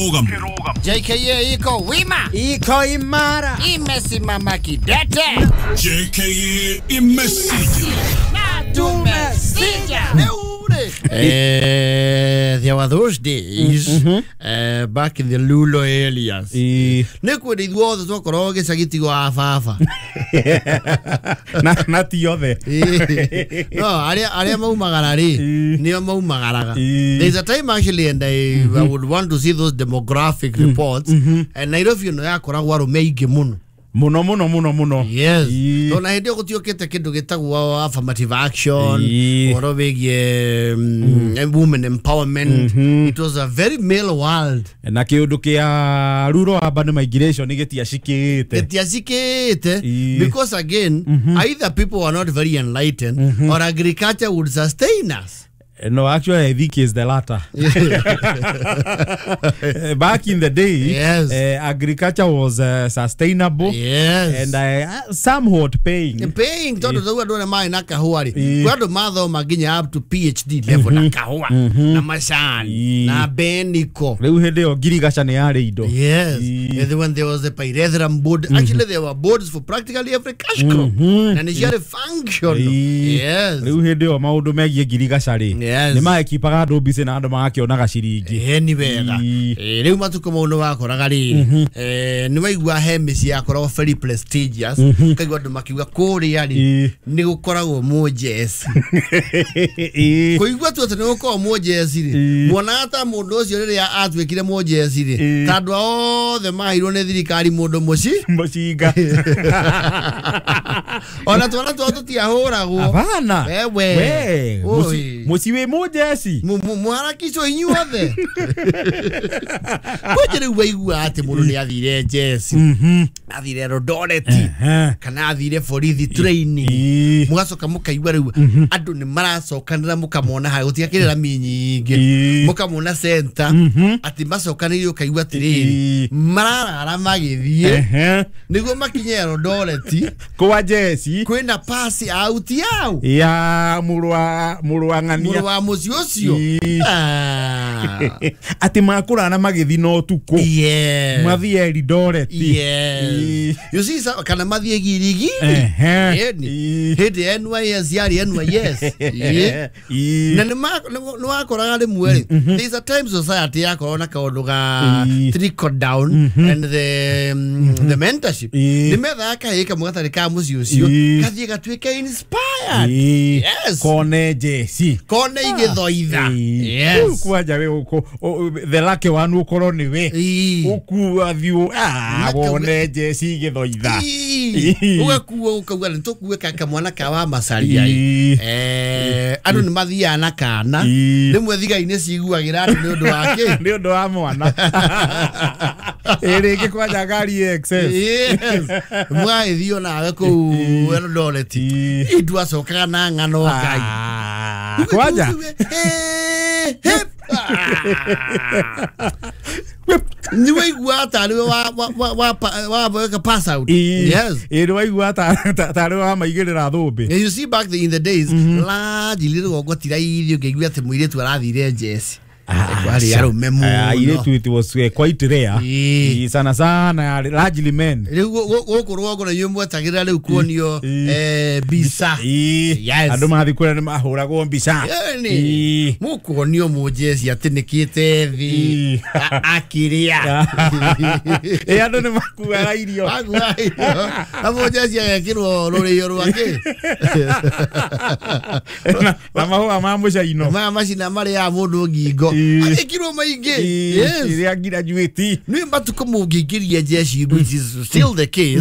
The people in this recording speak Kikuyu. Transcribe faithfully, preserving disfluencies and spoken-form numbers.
J K A iko wima, iko imara, imesimama kidete. J K A imesija na tumesija. Eh, there were those days, mm-hmm. uh, back in the Lulo areas. Nĩ kwenda ithuothe twakoragwo gĩcagi tigo a baba. Na na ti othe. No, arĩa arĩa maumagara rĩ, nĩo maumagaraga. There's a time actually, and I, mm-hmm. I would want to see those demographic reports. Mm-hmm. And Nairobi no yakoragwo arũme aingĩ mũno. Muno muno muno muno. Yes. Tona hĩndĩ ĩyo gũtiũkĩte kĩndũ gĩtagwo affirmative action, ũhoro wĩgiĩ mm, women empowerment. Mm-hmm. It was a very male world. Na kĩũndũ kĩa rural urban migration gĩtiacikĩte. Gĩtiacikĩte because again, mm-hmm. either people were not very enlightened, mm-hmm. or agriculture would sustain us. No, actually, I think it's the latter. Back in the day, yes. uh, agriculture was uh, sustainable. Yes. And uh, somewhat paying. Paying. Tondũ rĩu andũ arĩa marĩ na kahũa rĩ, kwĩ andũ mathoma nginya up to P H D level na kahũa, na macani, na beniko. Rĩu hĩndĩ ĩyo ngirigaca nĩ yarĩ indo. Yes. And when there was the pyrethrum board, actually there were boards for practically every cash crop. Na nĩ ciarĩ functional. Yes. Rĩu hĩndĩ ĩyo maũndũ megiĩ ngirigaca rĩ, yes. Nĩ maekipaga andũ mbici na andũ magakĩonaga ciringi. Ĩĩ nĩ wega. Rĩu matukũ mau nĩ wakoraga rĩrĩ, nĩ waigua he mĩciĩ yakoragwo very prestigious, ũkaigua andũ makiuga kũrĩa rĩ nĩ gũkoragwo mũnjeci. Kũigua tu atĩ nĩ gũkoragwo mũnjeci rĩ, muonaga ta mũndũ ũcio rĩrĩa atuĩkire mũnjeci rĩ, ta andũ othe maheirwo nĩ thirikari mũndũ mũci mũcinga. Ona twana twao tũtiahũragwo. Hapana. Wewe. Mũciĩ wĩ mũnjeci. Mũharakicwo inyuothe. Kwanja rĩu waigua atĩ mũndũ nĩ athire njeci, athire Eldoret, kana athire borithi training, mũgacoka mũkaigua rĩu andũ nĩ maracokanĩra mũkamona harĩa gũtigakĩrĩ rami nyingĩ, mũkamona center atĩ macokanĩrĩire ũkaigua atĩrĩrĩ mararara magĩthiĩ nĩguo makinye Eldoret kwa njeci kwĩna pasi out yao ya mũrũ wa mũrũ wa ng'ania mũrũ wa mũciĩ ũcio atĩ makũrana magĩthiĩ na ũtukũ mathiĩ Eldoret. Yes. You see, kana mathiĩ Girigiri hĩndĩ N Y S yarĩ N Y S. Na nĩ wakoraga rĩmwe rĩ, there's a time society yakoragwo na kaũndũ ga trickle down and the the mentorship. Nĩ methaga kahĩĩ kamwe gatarĩ ka mũciĩ ũcio gathiĩ gatuĩke inspired. Yes. Kone njeci kone igĩthoitha. Yes. Kwanja we ũkũ the lucky one ũkorwo nĩ we ũkua thiũ wone njeci igĩthoitha ũgakuo ũkauga nĩ tũkue kamwana ka wa macaria. Andũ nĩ mathiaga na kana rĩmwe thigari nĩ ciguagĩra andũ nĩ ũndũ wa kĩ nĩ ũndũ wa mwana. Ĩ rĩngĩ kwanja ngari excess. Yes. Mwagĩthiĩ onawe kũu Eldoret indu acokaga na ng'ano Ngai kwanja nĩ waigua tarĩ we pass out. Yes. Ĩ nĩ waigua tarĩ we wamaigĩrĩra thũmbĩ. You see back in the days largely rũgongo ti raithi ũngĩigua atĩ mũirĩtu arathire njeci. Kwari arũme mũno. Airĩtu it was quite rare. Sana sana largely men. Rĩu gũkũ rũgongo na inyuĩ mwetagĩrĩra rĩu kuonio mbica. Yes. Andũ mathiĩ kũrĩa nĩ mahũragwo mbica. Mũkuonio mũnjeci atĩnĩkĩte thĩ akĩrĩa. Ĩ andũ nĩ makuaga irio. Makuaga irio. Na mũnjeci agekĩrwo rũrĩo rwake. Na mahũa ma mũcaino. Maya macina marĩaga mũndũ ngingo. Agĩkirwo maingĩ. Yes. Ĩrĩa graduate. Nĩ matukũ mũngĩingĩria njeci, which is still the case.